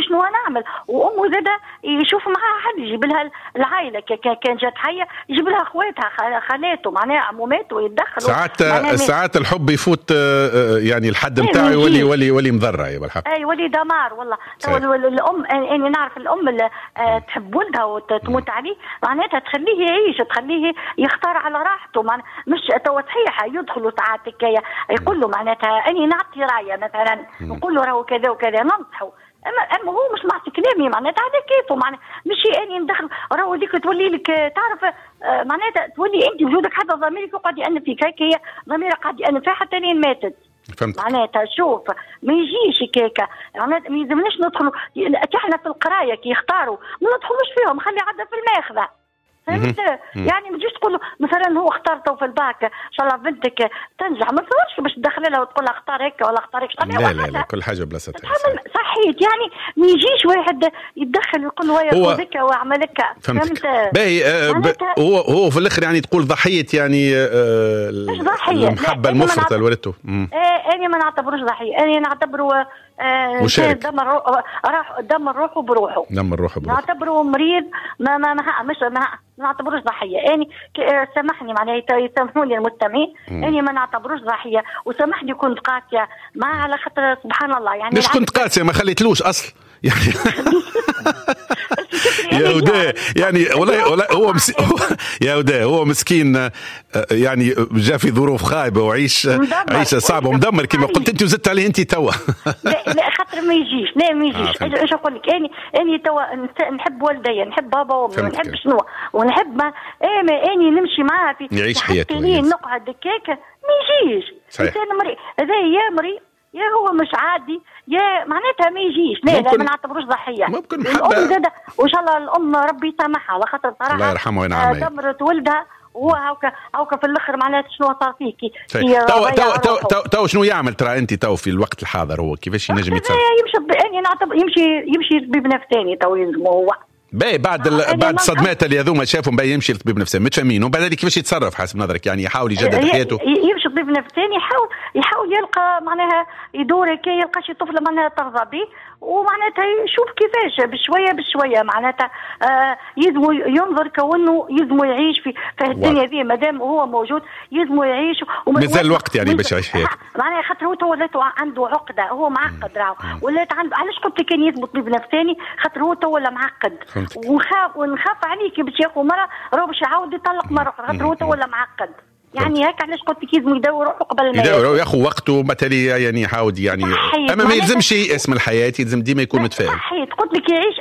شنو نعمل. وامه زاده يشوف معاها حد، يجيب لها العائلة كان جات حيه، يجيب لها اخواتها خالاته معناها عموماته يتدخلوا. ساعات الحب يفوت يعني الحد نتاعو يولي يولي مضرة يا بالحق. اي يولي دمار والله. الام انا نعرف الام اللي تحب ولدها وتموت عليه، معناتها تخليه يعيش، تخليه يختار على راحته، مش تو صحيح يدخلوا ساعات هكايا يقول له معناتها اني نعطي رايه مثلا، نقول له راهو كذا وكذا، ننصحه، اما هو مش معطي كلامي معناتها على كيفه، معناتها مش اني ندخل راهو هذيك تولي لك تعرف معناتها تولي انت وجودك حتى ضميرك يقعد يأنب فيك، هيك هي ضميرك قاعد يأنب فيها حتى لين ماتت. فهمت. معناتها شوف ما يجيش كيكة، معناتها ما يلزمناش ندخلوا احنا في القراية كي يختاروا ما ندخلوش فيهم، خلي عندنا في الماخذه. فهمت؟ يعني ما تجيش تقول مثلا هو اختار تو في الباك ان شاء الله بنتك تنجح، ما تصورش باش تدخل لها وتقول لها اختار هيك ولا اختار هيك. لا لا لا، كل حاجة بلاصتها. صحيت، يعني ما يجيش واحد يتدخل ويقول له هيا هكا واعمل هكا. فهمت؟ باهي. هو في الاخر يعني تقول ضحية، يعني مش ضحية، المحبة المفرطة لولدته. انا ما نعتبروش ضحية، انا نعتبره مشارك، دمر روحه بروحه، دمر روحه بروحه، نعتبره مريض، ما ما ما مش ما نعتبروش ضحية. اني سامحني معناها يسامحوني المستمعين، اني ما نعتبروش ضحية، وسامحني كنت قاسية ما على خاطر سبحان الله يعني. مش كنت قاسية، ما خليتلوش اصل يعني. يا وداء يعني والله هو يا وداء هو مسكين، يعني جاء في ظروف خايبة وعيش عيشه صعبة ومدمر كما قلت انت، وزدت عليه انت توا. لا لا خاطر ما يجيش، لا ما يجيش. ايش نقول لك، اني توا نحب والدي، نحب بابا وامي، ونحب شنو، ونحب ما اني نمشي معاه في يعيش حياته، نقعد هكاك ما يجيش. انسان مريض هذا، يا مريض يا هو مش عادي، يا معناتها ما يجيش. لا لا ما نعتبروش ضحية. ممكن محبة الام زاده، وان شاء الله الام ربي يسامحها على خاطر صراحة الله يرحمه وينعم، دمرت ولدها وهو هاكا في الاخر معناتها شنو صار فيه. تو تو تو تو تو شنو يعمل ترى انت تو في الوقت الحاضر، هو كيفاش ينجم يتصرف؟ يمشي نعتبر يمشي طبيب نفساني تو يلزمه هو. باهي بعد بعد الصدمات اللي هذوما شافهم، باهي يمشي لطبيب نفساني متفاهمين، وبعد ذلك كيفاش يتصرف حسب نظرك؟ يعني يحاول يجدد حياته، يمشي طبيب نفساني، يحاول يلقى معناها يدور كي يلقى شي طفله معناها ترضى به، ومعناتها يشوف كيفاش بشوية بشوية معناتها يلزمو ينظر كونه يلزمو يعيش في الدنيا ذي مادام هو موجود، يلزمو يعيش مازال الوقت يعني باش يعيش حياته. معناها خاطر هو ولات عنده عقده، هو معقد راهو، ولات عنده. علاش قلت لك كان يلزمو طبيب نفساني؟ خاطر هو تو ولا معقد، ونخاف عليه كي باش ياخذ مرة راهو باش يعاود يطلق مرة اخرى، خاطر هو تو ولا معقد. يعني هيك علاش قلت لك لازم يداوي روحه قبل ما يداوي، ياخذ وقته مثلا، يعني يحاول يعني، اما ما يلزمش ييأس من الحياة، يلزم ديما يكون متفائل. صحيت، قلت لك يعيش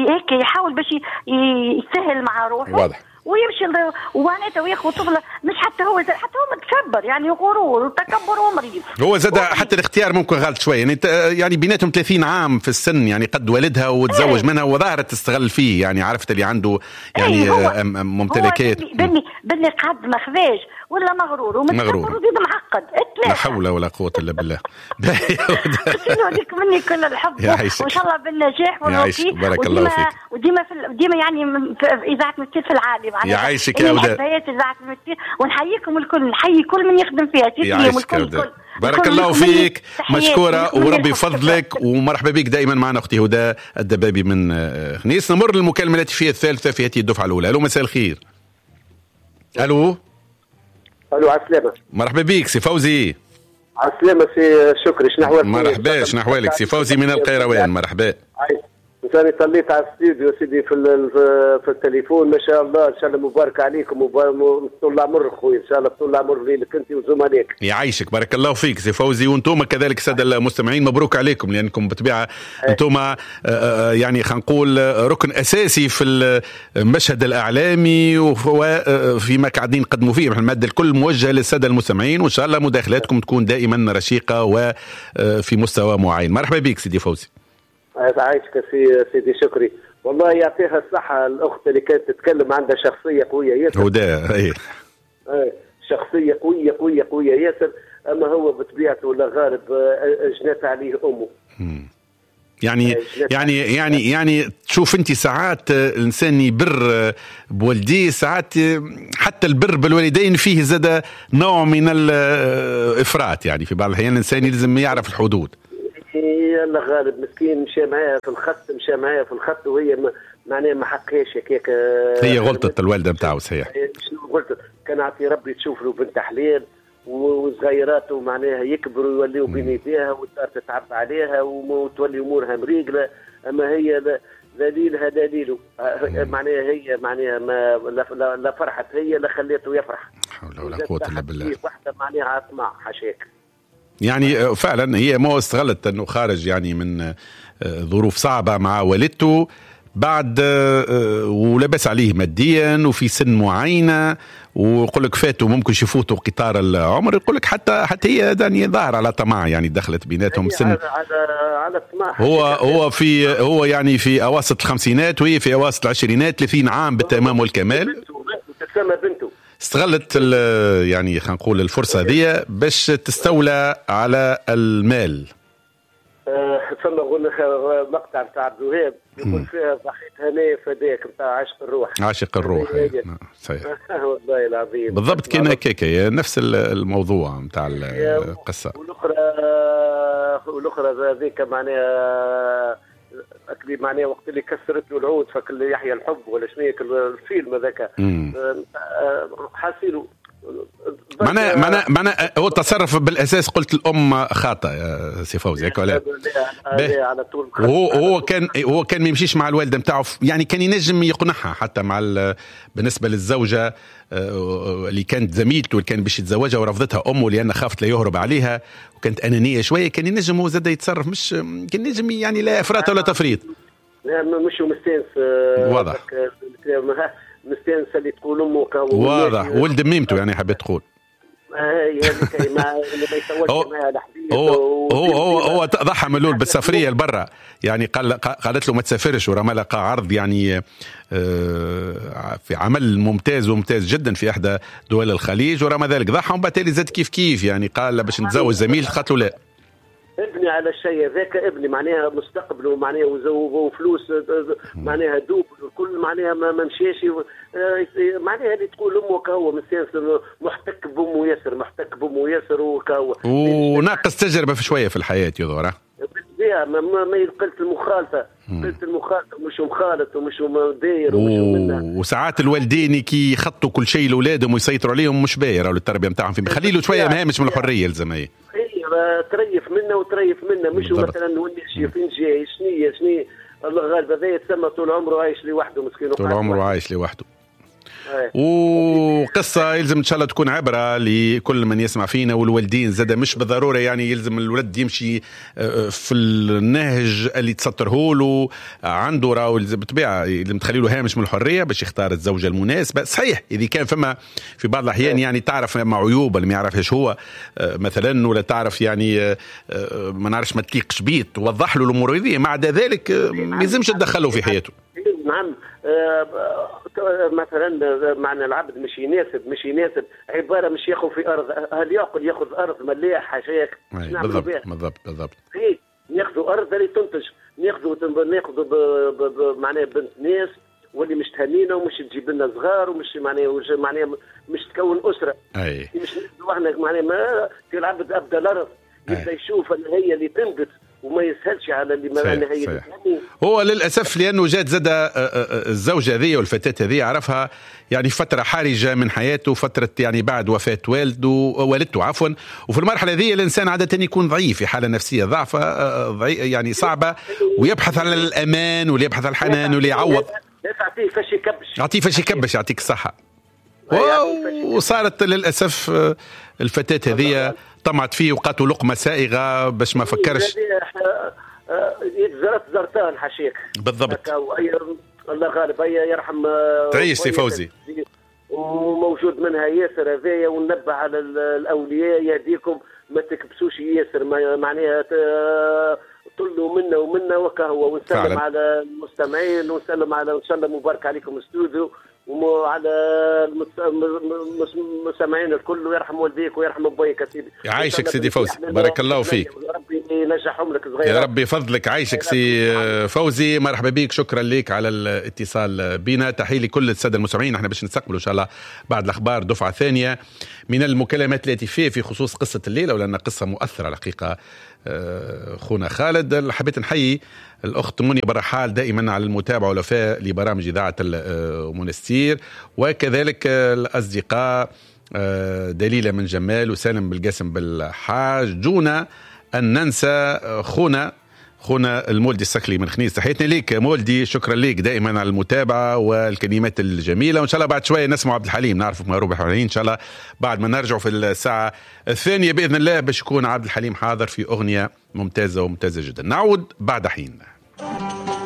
هيك، يحاول باش يسهل مع روحه. واضح. ويمشي ومعناتها وياخذ طفله، مش حتى هو متكبر يعني، غرور وتكبر ومريض. هو زاد حتى الاختيار ممكن غلط شوية، يعني يعني بيناتهم 30 عام في السن، يعني قد والدها وتزوج منها وظهرت تستغل فيه، يعني عرفت اللي عنده يعني ممتلكات. باللي قعد ما خذاش ولا مغرور ومتكبر وزيد معقد. لا حول ولا قوة الا بالله. لك مني كل الحب وان شاء الله بالنجاح والتوفيق. بارك الله فيك. وديما ديما يعني في اذاعة المستير في العالي. يعيشك يا وداد. ونحييكم الكل، نحيي كل من يخدم فيها. يعيشك يا وداد، بارك الله فيك، مشكورة وربي يفضلك، ومرحبا بك دائما معنا أختي هدى الدبابي من خنيس. نمر للمكالمة الهاتفية الثالثة في هذه الدفعة الأولى. ألو مساء الخير. ألو. ألو على السلامة. مرحبا بك سي فوزي. على السلامة سي شكري، شنو أحوالك؟ مرحبا، شنو أحوالك سي فوزي من القيروان؟ مرحبا. ثاني طليت على الاستوديو سيدي في التليفون، ما شاء الله، ان شاء الله مبارك عليكم وطول العمر خويا، ان شاء الله طول العمر ليك انت وزملائك. يعيشك، بارك الله فيك سي فوزي، وانتم كذلك السادة المستمعين مبروك عليكم، لانكم بالطبيعة انتم يعني خلينا نقول ركن اساسي في المشهد الاعلامي وفيما قاعدين نقدموا فيه. المادة الكل موجهة للسادة المستمعين، وان شاء الله مداخلاتكم تكون دائما رشيقه وفي مستوى معين. مرحبا بك سيدي فوزي. عايشك سيدي شكري. والله يعطيها الصحة الأخت اللي كانت تتكلم، عندها شخصية قوية ياسر. هدى إيه. شخصية قوية قوية قوية ياسر، أما هو بطبيعته ولا غالب جنات عليه أمه. يعني يعني يعني يعني تشوف انت ساعات الانسان يبر بوالديه، ساعات حتى البر بالوالدين فيه زاد نوع من الافراط، يعني في بعض الاحيان الانسان يلزم يعرف الحدود. هي الله غالب مسكين مشى معاها في الخط، مشى معاها في الخط وهي معناها ما حقهاش هكاك. هي غلطت الوالدة نتاعو صحيح. شنو غلطت؟ كان عطي ربي تشوف له بنت حلال وصغيراته معناها يكبروا ويوليوا بين يديها والدار تتعب عليها وتولي امورها مريقله، اما هي دليلها دليله معناها هي معناها ما لا فرحت هي لا خليته يفرح. حول ولا قوة الا بالله. واحدة معناها طمع حاشاك. يعني فعلا هي ما استغلت انه خارج يعني من ظروف صعبة مع والدته بعد ولبس عليه ماديا وفي سن معينة، ويقول لك فاتوا ممكن يفوتوا قطار العمر، يقول لك حتى هي يعني ظاهر على طمع، يعني دخلت بيناتهم سن على طمع. هو في هو يعني في اواسط الخمسينات وهي في اواسط العشرينات، 30 عام بالتمام والكمال. تسمى بنته استغلت يعني خلينا نقول الفرصة هذه باش تستولى على المال. ثم مقطع نتاع عبد الوهاب يقول فيها ضحيت هنايا فداك نتاع عاشق الروح. عاشق الروح صحيح. والله العظيم بالضبط كان هكاك نفس الموضوع نتاع القصة. والاخرى هذيك معناها معناها وقت اللي كسرت له العود فكل يحيى الحب ولا شنو الفيلم هذاك حاسيله معناه هو تصرف بالاساس. قلت الام خاطئه يا سي فوزي هكا ولا؟ على طول. هو كان ما يمشيش مع الوالدة نتاعو، يعني كان ينجم يقنعها حتى مع بالنسبة للزوجة اللي كانت زميلته اللي كان باش يتزوجها ورفضتها امه لان خافت لا يهرب عليها وكانت انانية شوية، كان ينجم هو زاد يتصرف، مش كان ينجم يعني لا افراط ولا تفريط. لا مش مستانس. واضح مستانس اللي تقول امه واضح ولد ميمته يعني حبيت تقول. هي هذيك ما يسولش معها الحديث. هو ضحى من الاول بالسفريه لبرا، يعني قالت له ما تسافرش، ورما لقى عرض يعني في عمل ممتاز وممتاز جدا في احدى دول الخليج، ورما ذلك ضحى، ومن بعد زاد كيف كيف يعني قال باش نتزوج زميل، قالت له لا. ابني على الشيء ذاك، ابني معناها مستقبله معناها وفلوس معناها double الكل معناها ما مشاش معناها اللي تقول امه كهو مستانس محتك بامه ياسر، محتك بامه ياسر وكهو وناقص تجربه في شوية في الحياة يظهر. بالطبيعة ما قلت المخالفة، قلت المخالفة مش مخالط ومش داير ومش وساعات الوالدين كي يخطوا كل شيء لاولادهم ويسيطروا عليهم مش باهي راهو التربية نتاعهم، خلي له شوية مهامش من الحرية لازم. هي تريف منا وتريف منا، مش مثلا ولي فين جاي شنية الله غالب هذا يتسمى طول عمره عايش لوحده مسكين، طول عمره عايش لوحده. وقصة يلزم إن شاء الله تكون عبرة لكل من يسمع فينا، والوالدين زاد مش بالضرورة يعني يلزم الولد يمشي في النهج اللي تسطره له عنده، راهو بالطبيعة يلزم تخلي له هامش من الحرية باش يختار الزوجة المناسبة. صحيح إذا كان فما في بعض الأحيان يعني تعرف مع عيوب اللي ما يعرفهاش هو مثلا، ولا تعرف يعني ما نعرفش ما تليقش بيه، توضح له الأمور هذه، مع ذلك ما يلزمش تدخله في حياته. نعم مثلا معنى العبد مش يناسب، مش يناسب عبارة مش ياخذ في ارض، هل ياكل ياخذ ارض مليح حاشاك؟ بالضبط بالضبط بالضبط. ناخذوا ارض اللي تنتج، ناخذوا معناها بنت ناس واللي مش تهنينا ومش تجيب لنا صغار ومش معناها مش تكون اسره. اي مش احنا معناها ما في العبد ابدا الارض يبدا يشوف ان هي اللي تنبت وما يسهلش على اللي ما هي. هو للأسف لأنه جات زاد الزوجة هذه والفتاة هذه عرفها يعني فترة حرجة من حياته، فترة يعني بعد وفاة والدته عفوا، وفي المرحلة هذه الإنسان عادة يكون ضعيف في حالة نفسية ضعفة يعني صعبة، ويبحث على الأمان ويبحث على الحنان واللي يعوض. يعطيه فاش يكبش، يعطيه فاش يكبش، يعطيك الصحة. وصارت للأسف الفتاة هذه طمعت فيه وقاتوا لقمة سائغة باش ما فكرش. يتزرت زرتان حشيك. بالضبط. الله غالب يرحم. تعيش سي فوزي. وموجود منها ياسر هذايا، وننبه على الأولياء يهديكم ما تكبسوش ياسر، معناها طلوا منا ومنا وكهو. ونسلم على المستمعين ونسلم على إن شاء الله مبارك عليكم استوديو وعلى المستمعين الكل، ويرحم والديك ويرحم ابويك سيدي. يعيشك سيدي فوزي، بارك الله فيك، ربي ينجحهم لك صغير يا ربي فضلك. عايشك سي فوزي، مرحبا بك، شكرا لك على الاتصال بنا. تحية لكل السادة المستمعين. احنا باش نستقبلوا ان شاء الله بعد الاخبار دفعه ثانية من المكالمات الهاتفية في خصوص قصة الليلة، ولان قصة مؤثرة الحقيقة خونا خالد. حبيت نحيي الاخت منيا برحال دائما على المتابعة والوفاء لبرامج اذاعة المنستير، وكذلك الاصدقاء دليله من جمال وسالم بالقاسم بالحاج، دون ان ننسى خونا المولدي السكلي من خنيس. تحياتنا ليك مولدي، شكرا ليك دائما على المتابعة والكلمات الجميلة، وان شاء الله بعد شوية نسمع عبد الحليم، نعرفك مهروب الحليم ان شاء الله بعد ما نرجع في الساعة الثانية باذن الله باش يكون عبد الحليم حاضر في اغنية ممتازة وممتازة جدا. نعود بعد حين.